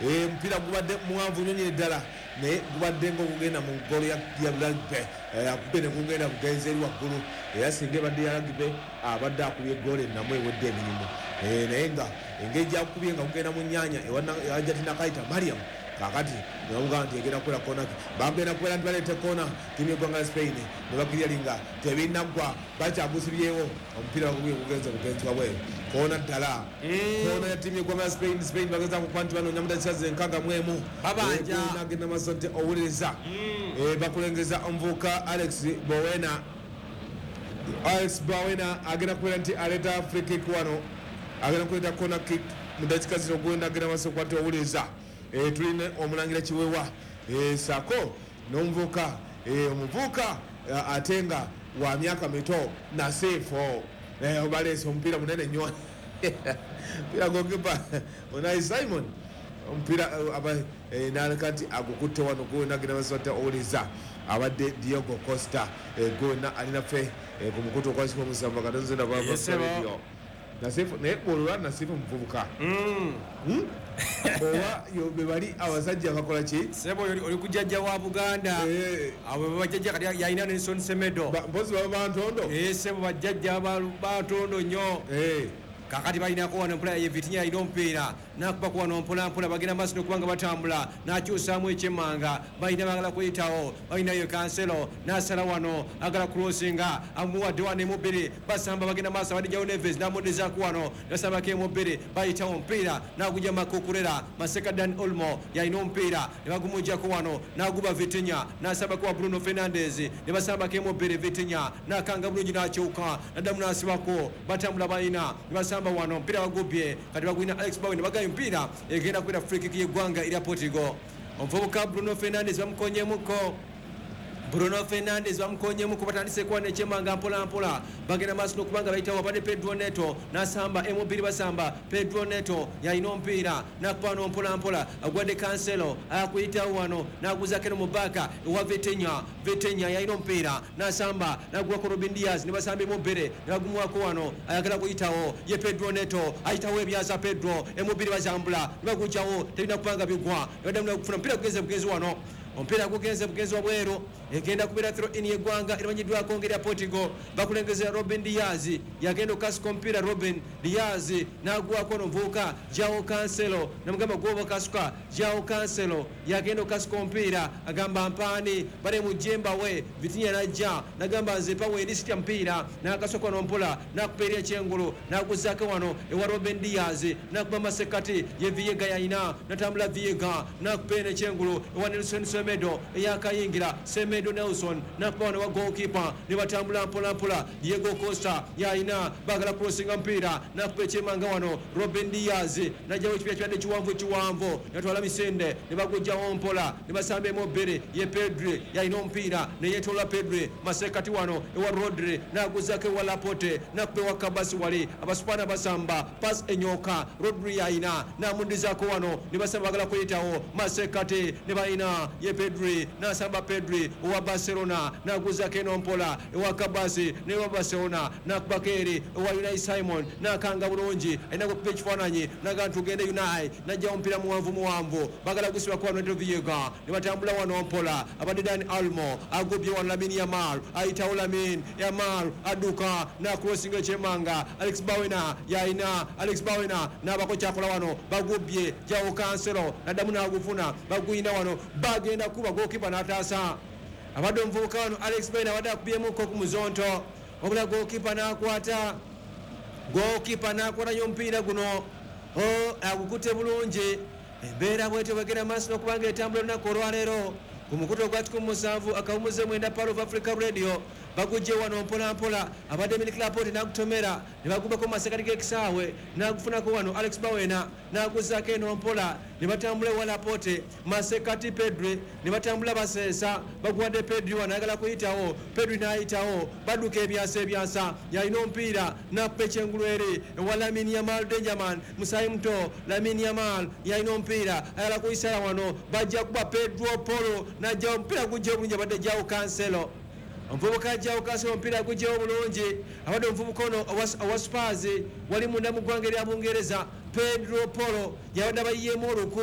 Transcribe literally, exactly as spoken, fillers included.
Omupiira gubadde muwanvu nnyo nyini ddala, naye gubadde nga ogugenda mu golo ya rugby, akubye ne gugenda bugenzi eri waggulu. Era singa ebadde ya rugby, abadde akubye egoolo ennamu ewedde emirimu, naye nga engeri gyakubye nga gugenda mu nnyanya ewa Kaita Mariam. Kakati nebamugamba nti egenda kubeera kona, bagenda kubeera nti baleeta kona tiimu yeggwanga la Spain, ne bakiryalinga tebinaggwa, bakyagusibyewo omupiira bagubye gugenze bugenzi wabweru. Kona ddala, kona ya tiimu yeggwanga la Spain. Spain bageza kukuba nti banoonya mudakika zenkaaga mu emu. Nagenda maaso nti owuliriza, bakulengeza omuvubuka Alex Bowena. Alex Bowena agenda kubeera nti aleeta free kick wano, agenda kuleeta corner kick mu dakika zino. Gwenda agenda maaso kuba nti owuliriza, tulina omulangira Kiwewa saako n'omuvubuka, omuvubuka ate nga wa myaka mito, Nasiifo. Baleese omupiira munene nnyo, omupiira gokipa Unai Simon, omupiira naleka nti agukutte wano. Gwena agenda maaso nti owuliriza, abadde Diogo Costa. Gwena alinaffe ku mukutu okwasika omusanvu akatonze radio. Nasifu, naye bwolwa Nasifu muvubuka oba be bali abasajja bakola ki? Sebo, oli kujjajja wa Buganda, abo bajjajja. Kati yalina Nelson Semedo. Mpozi baba bantondo. Sebo, bajjajja bantondo nnyo. Kakati balinako wano mpola, ye Vitinha alina omupiira, nakubako wano mpola mpola, bagenda maaso nokubanga batambula, nakyusaamu ekyemmanga, balina bagala kuyitawo, balinayo Cancelo, nasala wano, agala crossinga, amuwadde wano emubiri, basamba, bagenda maaso, abadde Neves namuddizaako wano, nasambako emubiri, bayitawo omupiira nagujja Makukurera Maseka. Dani Olmo yalina omupiira ne bagumujjako wano, naguba Vitinha, nasambako wa Bruno Fernandes, ne basambako emubiri, Vitinha nakanga bulungi, nakyuka, naddamu nasibako, batambula, balina ne basamba wano, omupiira bagubye, kati bagwina Alex Bowen, bagayo omupiira, egenda kubeera free kick y'eggwanga erya Portugal. Omuvubuka Bruno Fernandes bamukonyemuko, Bruno Fernandes bamukonyemu, batandise kuba nekyemanga mpola mpola, bagenda maaso n'okubanga bayitawo. Abadde Pedro Neto nasamba emubiri, basamba, Pedro Neto yalina omupiira, nakuba no mpola mpola, agwadde Cancelo, akuyitawo wano, naguzako eno mu baaka ewa Vitinha. Vitinha yalina omupiira, nasamba, nagwako Robin Diaz, ne basamba emubiri, ne bagumuwako wano, ayagala kuyitawo ye Pedro Neto, ayitawo ebyaza Pedro, emubiri bazambula, ne bagujjawo, tebina kubanga bigwa, ne baddamu okufuna omupiira, gugenze bugenzi wano, omupiira gugenze bugenzi wabweru, egenda kubeera throw in yeggwanga erimanyiddwako ngeri ya Portugal. Bakulengeza Robin Diaz, yagenda okukasuka omupiira, Robin Diaz n'agwako nomuvubuka Joao Cancelo, namugamba gwoba kasuka. Joao Cancelo yagenda okukasuka omupiira, agamba mpaani bale mujemba we. Vitinha najja nagamba nze pawe eri sitya mupiira, nakasuka nompola, nakupa eri ekyengulu, naguzaako wano ewa Robin Diaz, nakuba masekati, ye Viega yalina, natambula Viega, nakupa eno ekyengulu ewa Nelson Semedo eyakayingira, Semedo Nelson nakuba wano wa goalkeeper, ne batambula mpola mpola. Diego Costa yalina, bagala crossinga mupiira, nakuba ekyemanga wano Robin Diaz, najjawo ekipira kibadde kiwanvu kiwanvu, natwala misende, ne bagujjawo mpola, ne basamba emu bbiri, ye Pedri yalina omupiira, neyetola Pedri masekati wano ewa Rodri, naguzako ewa Laporte, nakuba ewa Kabasi, wali abasupana basamba, pass enyoka, Rodri yalina, namudizako wano, ne basamba, bagala kuyitawo masekati, ne balina ye Pedri, nasamba Pedri owa Barcelona, naguzako eno mpola ewa Kabasi, newa Barcelona, nakubako eri ewa Unai Simon, nakanga bulungi, alina kukuba ekifaananyi, naga ntugende. Unai najjawo omupiira muwanvu muwanvu, bagala gusibako wano Neto Viega, ne batambula wano mpola, abadde Dani Olmo, agubye wano Lamine Yamal, ayitawo Lamine Yamal, adduka nacrossinga ekyemanga, Alex Bawena yalina, Alex Bawena nabako kyakola wano, bagubye Joao Cancelo, naddamu nagufuna, baguyina wano, bagenda kuba, gokipa n'ataasa. Abadde omuvubuka wano Alex Bawena abadde akubyemuko ku muzonto, wabula gokipa n'akwata, gokipa n'akwata nyo omupiira guno, agukutte bulungi. Embeera bwetyo bwegenda maaso n'okubanga etambula olunaku olwaleero ku mukutu ogwa kikumi musanvu akawumuze mwenda Pearl of Africa Radio. Bagujje wano mpola mpola, abadde Aymeric Laporte n'agutomera, ne bagubako mu masekati g'ekisaawe, n'agufunako wano Alex Bawena, n'aguzaako eno mpola, ne batambula ewa Laporte, masekati Pedri, ne batambula baseesa, baguwadde Pedri wano, ayagala kuyitawo, Pedri n'ayitawo, badduka ebyasa ebyasa, yalina omupiira, n'akuba ekyengulu eri ewa Lamine Yamal, Dangerman, musaayi muto Lamine Yamal yalina omupiira, ayagala kuyisala wano, bajja kuba Pedro Polo, n'ajjawo omupiira, gujja obulungi, abadde Joao Cancelo, omuvubuka ajjawo Cancelo, omupiira gujjawo bulungi, abadde omuvubuka ono owa Spurs wali munda mu ggwanga erya Bungereza, Pedro Polo, yabadde abayiyeemu oluku.